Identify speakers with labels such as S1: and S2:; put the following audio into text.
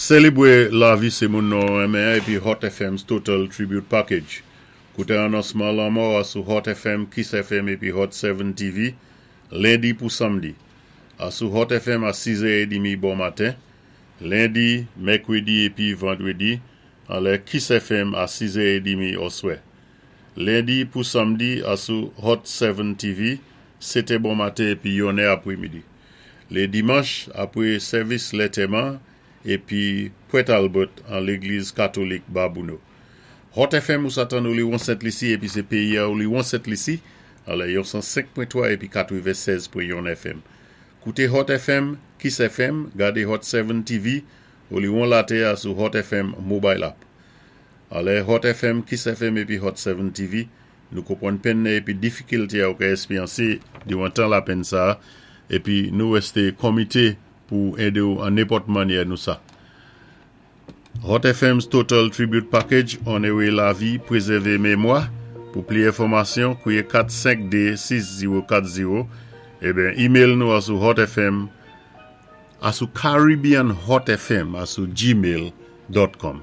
S1: Sélébwé lavi sé moun nou renmen épi Hot FM's Total Tribute Package. Kouté anonsman lanmò a sou Hot FM, Kiss FM épi Hot 7 TV, lendi pou samdi. Asou Hot FM a 6 è édmi bon maten, lendi, mèkwédi épi vandwédi, anlè Kiss FM a 6 è édmi oswè. Lendi pou samdi asou Hot 7 TV, 7 è bon maten épi 1 è apwémidi. Lé dimanch, apwé sèvis lantèman épi Port Albert an Légliz Katolik Babouno. Hot FM ou sa tann Oliwon Sent Lisi épi sé péyi a Oliwon Sent Lisi, anlè yon 105.3 épi 96.1 FM. Kouté Hot FM, Kiss FM, gadé Hot 7 TV, Oliwon latè a sou Hot FM Mobile App. Anlè Hot FM, Kiss FM épi Hot 7 TV, nou konpwann penn épi difikilté a ou ka èspéryansé diwan tan lapenn sa épi nou wèsté konmité pou édé ou an nenpòt mannyè nou sa. Hot FM's Total Tribute Package, Onoré lavi, prézèvé mémwa. Pou pli enfòmasyon, kouwé 452 6040 eben email nou asou hotfm asou caribbeanhotfm asou gmail.com.